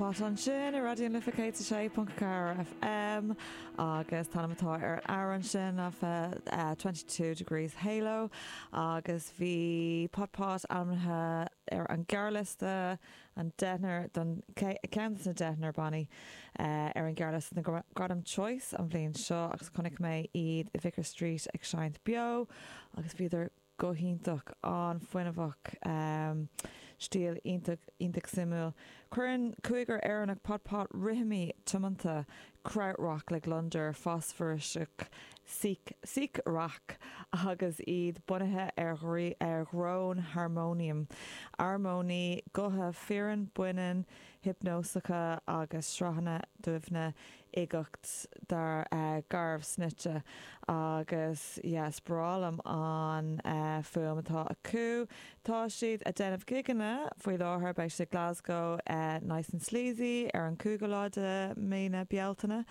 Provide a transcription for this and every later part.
Pot ansin ar Raidió na Life 106.4 FM agus an t-ainm atá ar an amhrán sin ná 22 Degrees Halo agus bhí Pot Pot ainmnithe ar an ghearrliosta an deichniúr don ceann de na deichniúr bannaí ar an ghearrliosta na Gradaim Choice an bhliain seo agus chonaic mé iad i Vicar Street ag seinnt beo agus bhíodar go hiontach, an-fhuinneamhach, stíl iontach, iontach suimiúil. Cuireann cúigear Éireannach Pot Pot rithimí tiomanta krautrock le gliondar fosfairseach síc-rac agus iad bunaithe ar ar dhrón harmóiniam, armóiní gutha fireann, baineann, hiopnósacha agus sraitheanna doimhne uigeacht dar garbh snoite agus yeah is breá liom an fuaim atá acu. Tá siad a déanamh gigeanna faoi láthair, beidh siad i Glasgow Nice and Sleazy ar an 5ú lá de mí na Bealtaine,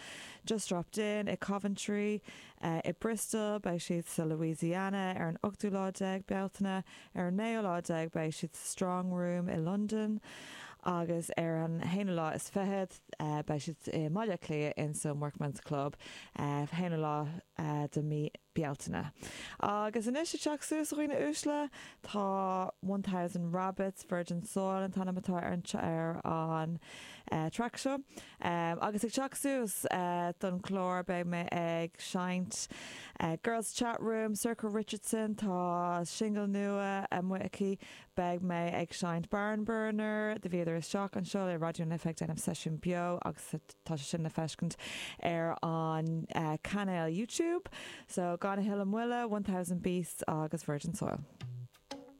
Just Dropped In i Coventry, i Bristol, beidh siad sa Louisiana ar an 8ú lá déag Bealtaine, Ar an naoú lá déag beidh siad sa Strong Room i Londain agus ar an haonú lá is fichead beidh siad i mBaile Átha Cliath in san Workman's Club, haonú lá de mí Bealtaine. Agus anois ag teacht suas a dhaoine uaisle, tá 1000 Rabbits, Virgin Soil an t-ainm atá ar an ar an traic seo. Agus ag teacht suas don chlár beidh mé ag seinnt Girls Chat Room, Sorcha Richardson, tá singil nua amuigh aici, beidh mé ag seinnt Barnburner, do bhíodar isteach anseo le Raidió na Life ag déanamh seisiún beo agus tá sé sin le feiscint ar an cainéal YouTube. So gan a thuilleadh moille, 1000 Beasts agus Virgin Soil.